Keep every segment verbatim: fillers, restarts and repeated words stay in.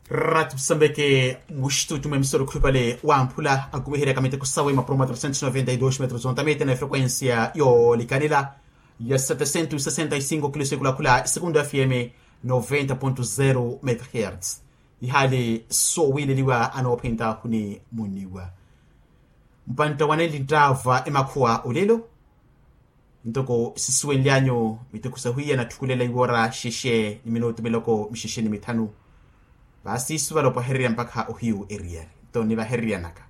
Ratu sambeke muxitutu mwa emisoro khupale wamphula akumiherya kamiteko sawe mapuro ma trecentos noventa e dos metros ontamete na efrequencia yoolikanela ya setecentos sesenta e cinco kilos ekulakhula sekundu fm noventa ponto zero megahertz. Ihale sowileliwa anoopenta huni muniwa mpantta waneli nttaava emakhuwa olelo. Ntoko sisuwenlyanyu miteko sahwiya natthukulela iwora xexe ni minutu miloko mixexe ni mithanu. Vaasi suvala opahererya mpakha ohiyu eriyari nto nivahereryanaka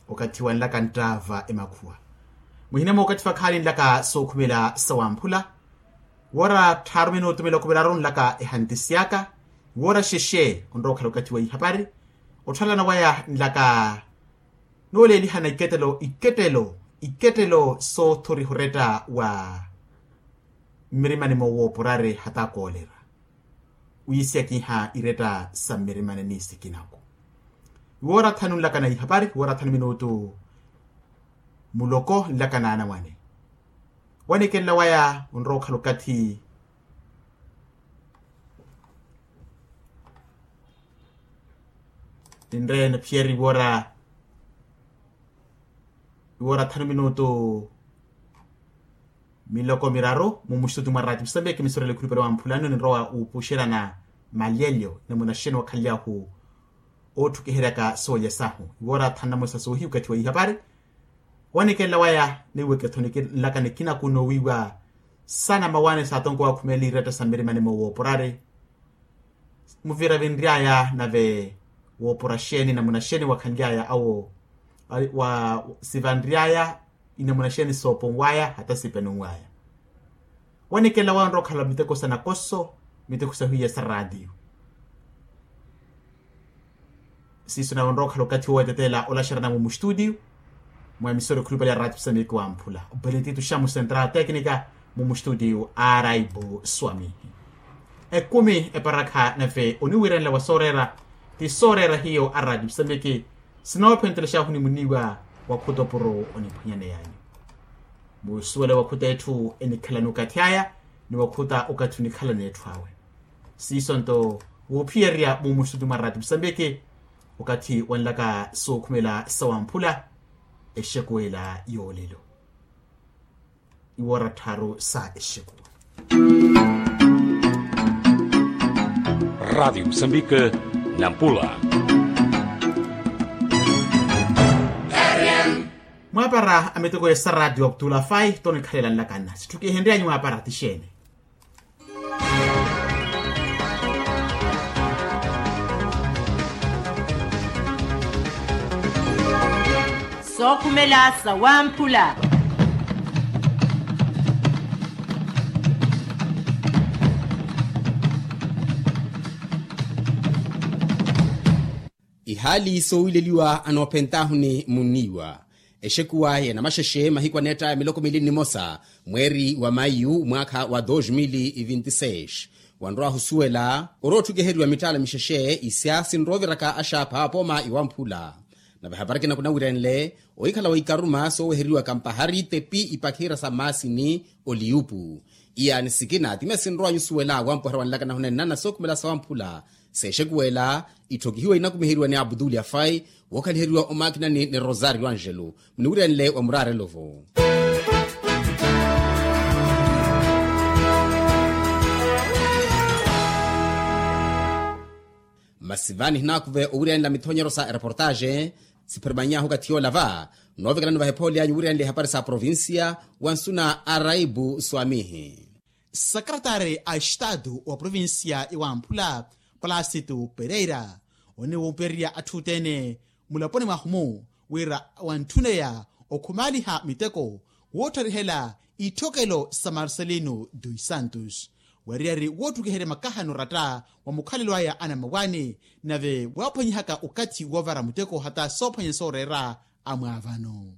okathi wanlaka nttaava emakhuwa. Muhinemo okathi vakhaali nlaka sookhumela sawamphula wora tthaaru minutu miloko miraru nlaka ehantisiyaka. Wora xexe onrowa okhala okathi wa ihapari otthalana waya nlaka nooleelihana ikettelo ikettelo ikettelo soothoriha oretta wa mmirimani moowooporari hata koolera wiisiyakiha iretta sa mmirimani ni sikinaku. Iwoora thanu nlaka na ihapari iwoora thanu minutu muloko nlaka na anamwane. Wanekelela waya onrowa okhala okathi ninre naphiyari iwoora iwoora thanu minutu miloko miraru mu muxitutu mwa rati musambiki misorele khulupale wa mphulano ninrowa wuupuxerana malyelyo ni munaxeni wakhalyahu oothukiheryaka soolya sahu iwoora thanu namosa soohiyu okathi wa ihapari. Wanekelela waya niweketho nlaka nikinaku noowiiwa sana mawaani saatonko wakhumela iretta sa mmirimani moowooporari muvira vinry'aya nave woopora xeeni namuna xeeni wakhanly'aya awo wa sivanry'aya inamuna xeeni sooponw'aya hata sipenunw'aya. Wanekelela waya onrowa okhala miteko sa nakoso miteko sahwiya sa raatiyo. Siiso nawe onrowa okhala okathi woweteteela olaxerana mumu xitutiyo mwa emisora ekhulupale ya raatiyo samiki wamphula obeletito xamu central tecnica mumu xitutiyo araibu swamihi. Ekumi eparakha nave oniwiiranela wa sooreera ti sooreera hiyo a raatiyo samiki sinoophentelexahu ni muniiwa wakhuta opuro oniphwanyaneyanyu. Muusuwela wakhuta etthu enikhalani okathi aya ni wakhuta okathi onikhalani etthu awe. Siiso nto wuuphiyerya mumusutu mwa rati musambiki okathi wanlaka sookhumela sawamphula exekuwela yoolelo iwoora tthaaru sa exekuwa. Rati musambiki nampula. Mwaapara a miteko ya sa rati wa kutula fai tonikhalela nlakanna sitthukihenryanyu mwaapara ti xeeni? Sookhumela sawamphula. Ihaali soowileliwa anoophentaahu ni munniiwa. Exekuwa ya namaxexe mahiku aneetta ya miloko miili nnimosa mweeri wa maiyu mwaakha wa dos mil vinti seis wanrowa ahusuwela orootthukiheryiwa mittaala mixexe isya sinroviraka axaapha pooma iwamphula. Nave hapari kinaku nawirenle ohikhala wa ikaruma sooweheriwaka mpahari tepi ipakhira sa maasini oliyupu iyaani sikina timiya sinrowa nyusuwela wampuherya wanlaka nahunenna na sookhumela sawamphula. Seexekuwela itthokihiwa inakumiheriwa ni abutuli afai wookhaliheriwa omaakinani ni rosario angelo muniwirenle wa muraarelo-vo. Masi vani hinaakuve owirenla mithonyero sa ereportaxe sipheremany'ahu okathi yoola va noovekelani vahephoolyanyu wirenle ehapari sa provincia. Wansuna araibu swamihi. Sakaratari a estatu wa provincia ya wamphula palasitu pereira oniwuupererya atthu othene mulaponi mwahu-mu wira wantthuneya okhumaaliha miteko wootharihela itthokelo sa marcelino dos santos wariyari woottukiherya makahano oratta wa mukhalelo aya anamawaani nave waaphwanyihaka okathi woovara muteko hata soophwanya sooreera amwaavano.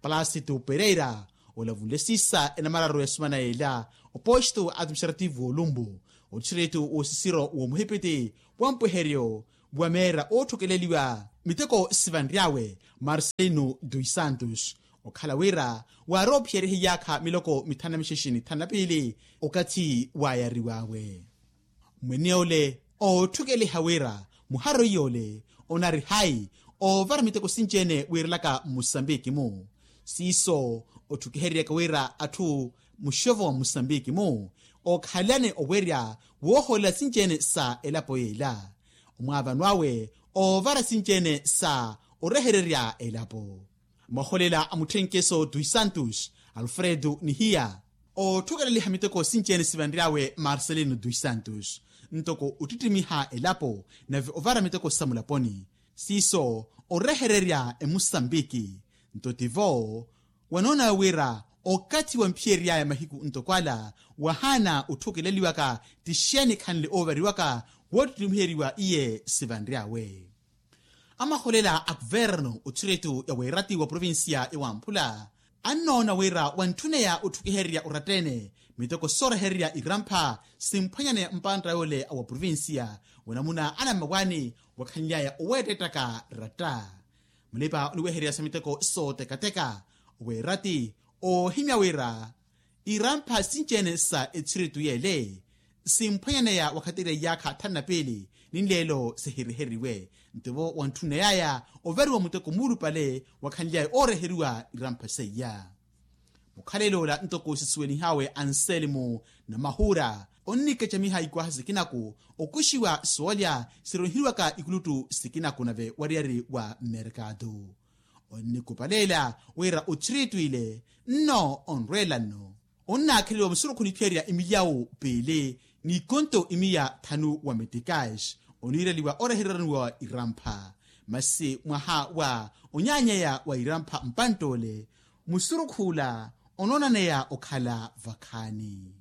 Palasitu pereira olavunle siisa enamararu ya sumana yeela oposto administrativo olumbu otistrito wosisiro womuhipiti wa mpweheryo wa meera ootthukeleliwa miteko sivanry'awe marcelino dos santos okhala wira waaroophiyerehe iyaakha miloko mithanu na mixexe ni thanu na piili okathi waayariw'awe. Mwene ole ootthukeliha wira Muharo iyole onari hayi oovara miteko sinci-ene wiirelaka mmusambiki-mu. Siiso otthukihereryaka wira atthu muxovo wa mmusambiki-mu ookhalelani owerya wooholela sinci-ene sa elapo yeela, omwaavano awe oovara sinci-ene sa orehererya elapo. Mwaholela a mutthenkeso dos santos alfredo nihiya oothukeleliha miteko sinci-ene sivanry'awe marcelino dos santos ntoko ottittimiha elapo nave ovara miteko sa mulaponi. Siiso orehererya emusambiki nto tivo wanoonawe wira okathi wamphiyery'aya mahiku ntoko ala wahaana otthukeleliwaka ti xeeni khanle oovariwaka woottittimiheryiwa iye sivanry'awe. Amaholela a kuverno othiritu ya weerati wa provincia ya wamphula annoona wira wantthuneya otthukihererya oratta-ene miteko soorehererya irampha simphwanyaneya mpantta yoole a wa provincia wanamuna anammawaani wakhanly'aya oweettettaka ratta. Mulipa oniwehererya sa miteko sootekateka weerati oohimya wira irampha sinci-ene sa ethiritu yeele simphwanyaneya wakhatirya iyaakha thanu na piili ni nleelo sihiriheriwe ntivo wantthuney'aya ovariwa muteko muulupale wakhanly'aya ooreheriwa irampha seiya. Mukhalelo ola ntoko sisuwelihawe anselmo na mahuura onnikecamiha ikwaha sikinaku okuxiwa soolya sironhiwaka ikuluttu sikinaku nave wariyari wa merkatu. Onnikupaleela wira othiritu ile nno onrweela nno onnaakheliwa musurukhu niphiyeerya imilyawu piili n'ikonto imiya thanu wa metikaaxi oniireliwa orehereraniwa irampha. Masi mwaha wa onyaanyeya wa irampha mpantt'ole musurukhu ola onoonaneya okhala vakhaani.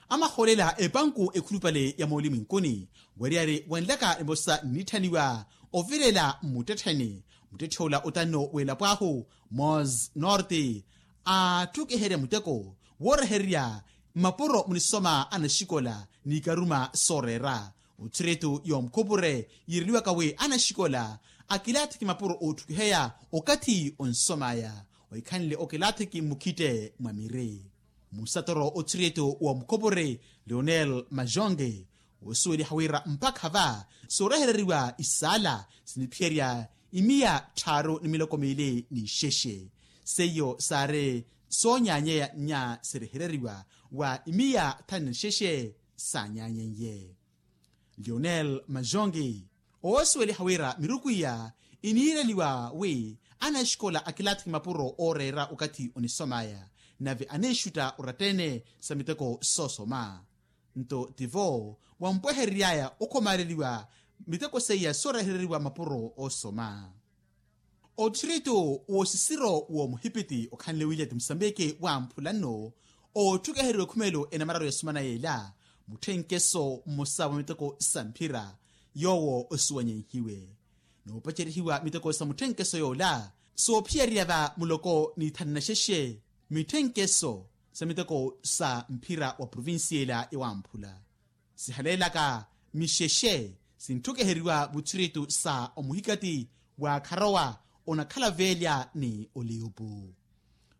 Amaholela epanku ekhulupale ya mooli mwinkuni wariyari wanlaka emosa nnitthaniwa ovilela mmuttettheni muttetthe ola otanno w'elapo ahu mos norte aattukiherya muteko woorehererya mapuro munisoma anaxikola n'ikaruma sooreera othiritu y'omukhupure yiireliwaka wi anaxikola akilaathiki mapuro ootthukiheya okathi onsom'aya ohikhanle okilaathiki mmukhitte mwa miri. Musatoro othiritu w'omukhupure leonel majonge woosuweliha wira mpakha va soorehereriwa isaala siniphiyerya imiya tthaaru ni miloko miili n'ixexe seiyo saari soonyaanyeya nnya sirehereriwa wa imiya thanu na nixexe saanyaanyeiye. Leonel majongi oosuweliha wira miruku iya iniireliwa wi anaxikola akilaathiki mapuro ooreera okathi onisom'aya nave aniixutta oratta-ene sa miteko soosoma nto tivo wampweherery'aya okhomaaleliwa miteko seiya soorehereriwa mapuro oosoma. Othiritu w'osisiro w'omuhipiti okhanle wiliyati musambiki wamphula nno ootthukeheriwa ekhumelo enamararu ya sumana yeela mutthenkeso mmosa wa miteko sa mphira yoowo osuwanyenhiwe noopacerihiwa miteko sa mutthenkeso yoola soophiyererya va muloko ni thanu na xexe mitthenkeso sa miteko sa mphira wa provincia ela ewamphula sihaleelaka mixexe sintthukeheriwa vuthiritu sa omuhikati wa kharowa onakhala veelya ni oliyupu.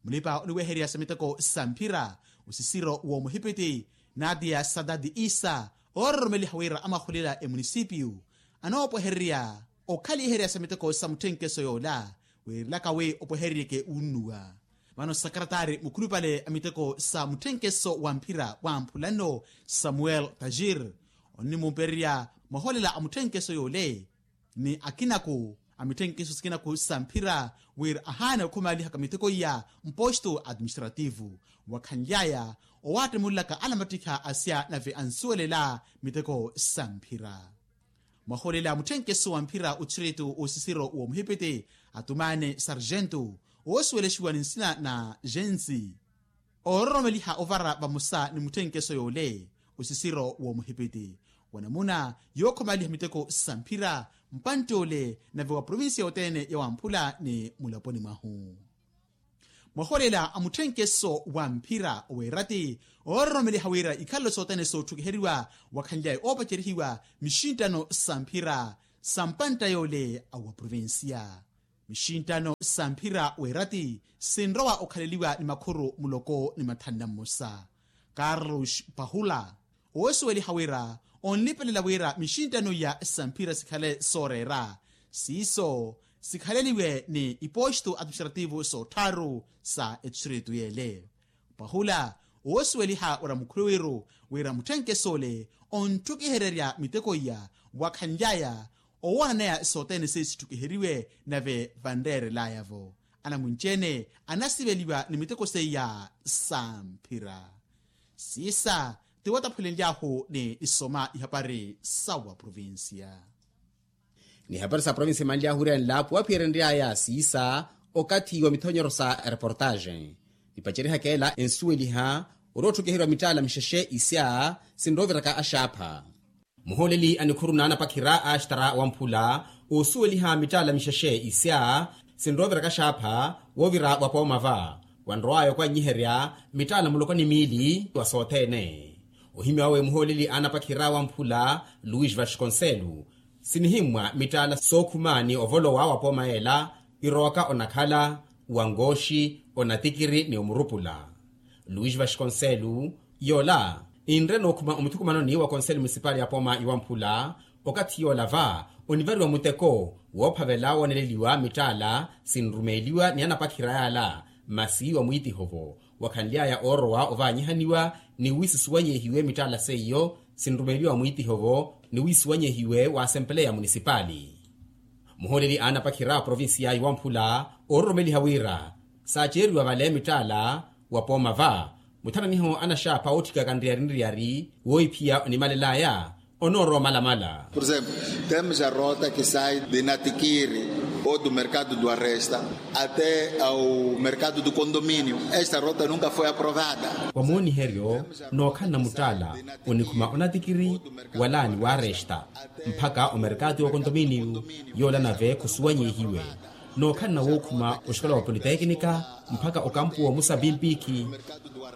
Mulipa oniwehererya sa miteko sa mphira osisiro w'omuhipiti nadia sadadi isa oororomeliha wira amaholela emunisipiyu anoopwehererya okhaliherya sa miteko sa mutthenkeso yoola weerelaka wi opwehereryeke wunnuwa. Vano sakaratari mukhulupale a miteko sa mutthenkeso wa mphira wamphula nno samuel tajir onnimupererya maholela a mutthenkeso yoole ni akinaku a mitthenkeso sikinaku sa mphira wira ahaana okhumalihaka miteko iya mposto administrativo wakhanly'aya owattemulelaka alamattikha asya nave ansuwelela miteko sa mphira. Mwaholela mutthenkeso wa mphira othiritu osisiro w'omuhipiti atumane sargento oosuwelexiwa ni nsina na gensi oororomeliha ovara vamosa ni mutthenkeso yoole osisiro w'omuhipiti wanamuna yookhomaliha miteko sa mphira mpantti ole nave wa provincia yothene yawamphula ni mulaponi mwahu. Mwaholela a mutthenkeso wa mphira oweerati oororomeliha wira ikhalelo sothene sootthukiheriwa wakhanly'aya oopacerihiwa mixinttano sa mphira sa mpantta yoole a wa provincia. Mixinttano sa mphira weerati sinrowa okhaleliwa ni makhuru muloko ni mathanu na mmosa. Carlos pahula Woosuweliha wira onlipelela wira mixinttano iya samphira sikhale sooreera siiso sikhaleliwe ni ipostu administrativu soottharu sa etistritu yeele. Pwahula woosuweliha wira mukhuluwiru wira mutthenkeso ole ontthukihererya miteko iya wakhanly'aya owoonaneya sothene seiyo sitthukiheriwe nave vanreerelaya-vo anamunci-ene anasiveliwa ni miteko seiya samphira. Siisa ti wataphulenly'ahu ni isoma ihapari sa wa provincia. Ni ihapari sa provincia imanly'ahu wira enlapo waphiyeryenry'aya siisa okathi wa mithonyero sa reportaxe. Nipacerihaka ela ensuweliha ori otthukiheriwa mittaala mixexe isya sinroviraka axaapha. Muhooleli a nikhuru n'anapakhira a axitara wamphula oosuweliha mittaala mixexe isya sinrooviraka axaapha woovira wapooma va wanrow'aya okwanyiherya mittaala muloko ni miili wa sothene. Ohimy'awe muhooleli a anapakhira wamphula luis vasconcelo sinihimmwa mittaala sookhuma ni ovolowa wapooma ela irowaka onakhala wangooxi onatikiri ni omurupula. Luis vasconcelo yoola ninre nookhuma omuthukumanoni wa konseli munisipali ya pooma iwamphula okathi yoola va onivariwa muteko woophavela wooneleliwa mittaala sinrumeeliwa ni anapakhira yaala masi wa mwiitiho-vo wakhanly'aya oorowa ovaanyihaniwa ni wi sisuwanyehiwe mittaala seiyo sinrumeeliwa mwiitiho-vo ni wi sisuwanyehiwe waasempeleya munisipali. Muhooleli a anapakhira a provincia iwamphula oororomeliha wira saaceeriwa vale mittaala wapooma va muthananiho anaxaapha ootthikaka nriyari nriyari woohiphiya onimalel'aya onoorowa omalamala. Por exemplo, temos a rota que sai de natikiri ou do mercado do arresta até ao mercado do condomínio. Esta rota nunca foi aprovada. Wa mooniheryo nookhalana muttaala onikhuma onatikiri wala ni waaresta mpakha omerkatu wa okontominiyu yoola nave khusuwanyihiwe nookhalana wookhuma oxikola wa politekinika mpakha okampu wa musa pimpikhi.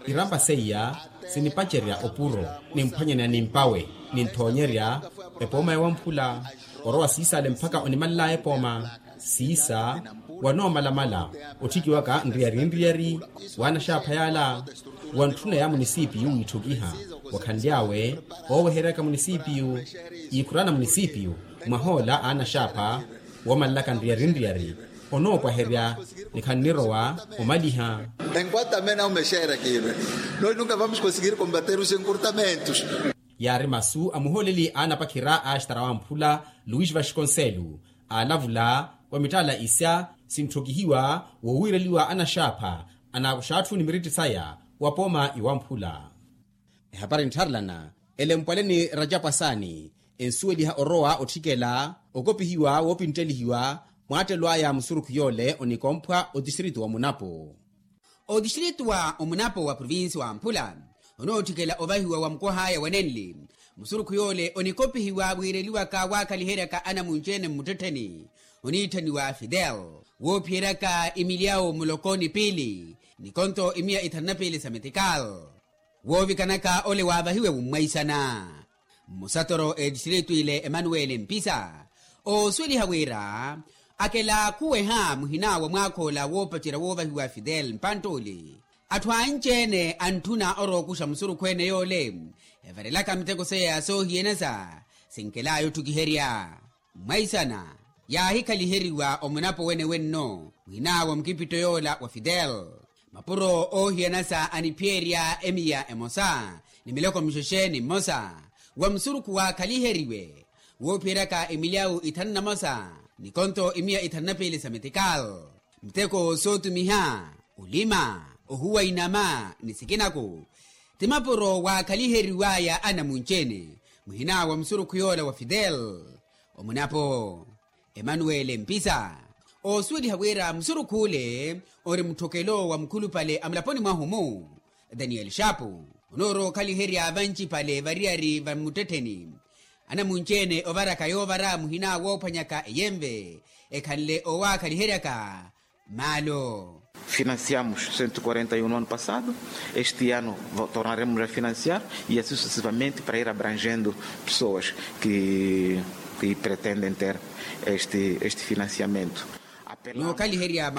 Irampa seiya sinipacerya opuro nimphwanyana nimpawe ninthoonyerya epooma ya wamphula orowa siisale mpakha onimalel'aya epooma siisa wanoomalamala otthikiwaka nriyari nriyari w'anaxaapha yaala wantthuneya munisipiyu wiitthukiha wakhanly'awe ooweheryaka munisipiyu iikhurana munisipiyu mwahoola a anaxaapha woomalelaka nriyari nriyari onoopwaherya ni khannirowa omaliha. Enquanto também não mexer aqui, nós nunca vamos conseguir combater os encurtamentos. Yaari masu a muhooleli a anapakhira a axitara wamphula luis vasconcelo aalavula wa mittaala isya sintthokihiwa wowiireliwa anaxaapha anaakuxa atthu ni miritti saya wa pooma iwamphula. Ehapari nttharelana elempwale ni rajapu asaani ensuweliha orowa otthikela okopihiwa woopinttelihiwa mwaattelo aya musurukhu yoole onikomphwa otistritu wa munapo. Otistritu wa omunapo wa provincia wa mphula onootthikela ovahiwa wa mukoh'aya wa nenli musurukhu yoole onikopihiwa wiireliwaka waakhaliheryaka anamunci-ene mmuttettheni oniitthaniwa fidel woophiyeryaka imilyawu muloko ni piili ni konto imiya ithanu na piili sa metikal. Woovikanaka ole waavahiwe wummwaisana mmusatoro etistritu ile emanuweli mpisa oosuweliha wira akela khuweha muhina wa mwaakha ola woopacerya woovahiwa fidel mpanttuli atthu anci-ene antthuna orookuxa musurukhu ene yoole evarelaka miteko seiya ya soohiyanasa sinkel'aya otthukiherya. Mmwaisana yaahikaliheriwa omunapo wene wenno muhina wa mukipitto yoola wa fidel mapuro oohiyanasa aniphiyerya emiya emosa ni miloko mixexe ni mmosa wa musurukhu waakhaliheriwe woophiyeryaka emilyawu ithanu na mosa ni konto imiya ithanu na piili sa metikal muteko sootumiha olima ohuwa inama ni sikinaku ti mapuro waakhaliheriw'aya anamunci-ene muhina wa musurukhu yoola wa fidel omunapo emanuweli mpisa oosuweliha wira musurukhu ole ori mutthokelo wa mukhulupale a mulaponi mwahu-mu daniyeli xaapu onoorowa okhaliherya vancipale variyari va mmuttettheni anamunci-ene ovaraka yoovara muhina woophwanyaka eyenve ekhanle owaakhaliheryaka maalo. Financiamos cento e quarenta e um no ano passado, este ano tornaremos a financiar e assim sucessivamente para ir abrangendo pessoas que pretendem ter este financiamento. Nookhaliherya